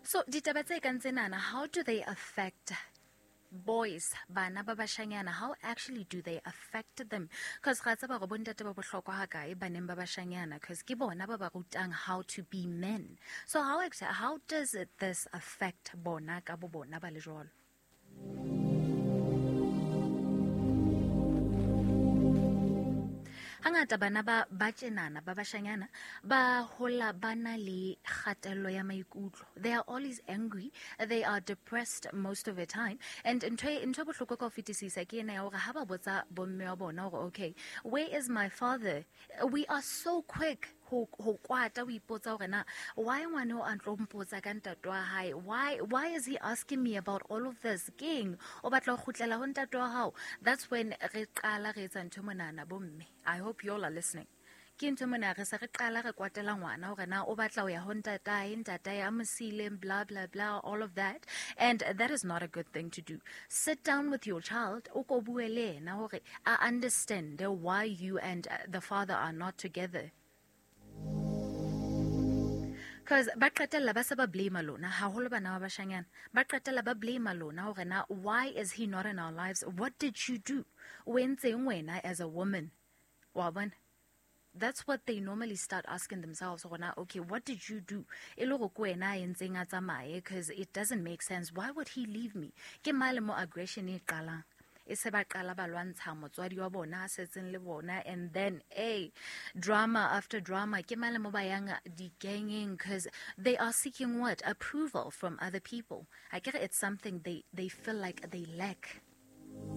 So ditaba tse kang tsenana, how do they affect boys, bana ba bashanyana? How actually do they affect them? Because ga tseba gore bontate ba bohlokwa ha kae baneng ba bashanyana, because ke bona ba ba rutang how to be men. So how does this affect bona ka bo bona ba le jwalo? Hangata bana ba tjenana, ba bashanyana, ba hola ba na le kgatello ya maikutlo. They are always angry, they are depressed most of the time. And ntho e bohloko ka ho fetisisa ke ena ya hore ha ba botsa bomme wa bona hore, okay, where is my father? We are so quick ho kwata, o ipotsa hore na why ngwane o a ntlo mpotsa ka ntate wa hae? Why is he asking me about all of this? Keng o batla ho kgutlela ho ntate wa hao? That's when re qala re etsa ntho monana bomme. I hope you all are listening. Ke ntho mona re se re qala re kwatela ngwana hore na o batla ho ya ho ntatae, ntatae a mo siileng, blah, blah, blah, all of that. And that is not a good thing to do. Sit down with your child, o ko bue le yena hore a understand why you and the father are not together. Because ba qetella ba se ba blame lona, haholo bana ba bashanyana. Ba qetella ba blame lona hore na why is he not in our lives? What did you do? O entseng wena as a woman? Wa bona? That's what they normally start asking themselves. Hore na, okay, what did you do? E le hore ke wena a entseng a tsamaye, because it doesn't make sense. Why would he leave me? Ke male mo aggression e qalang. E se ba qala ba lwantsha motswadi wa bona a setseng le bona, and then a drama after drama. Ke male mo ba yang di-gangeng, because they are seeking what? Approval from other people. I get it's something they feel like they lack.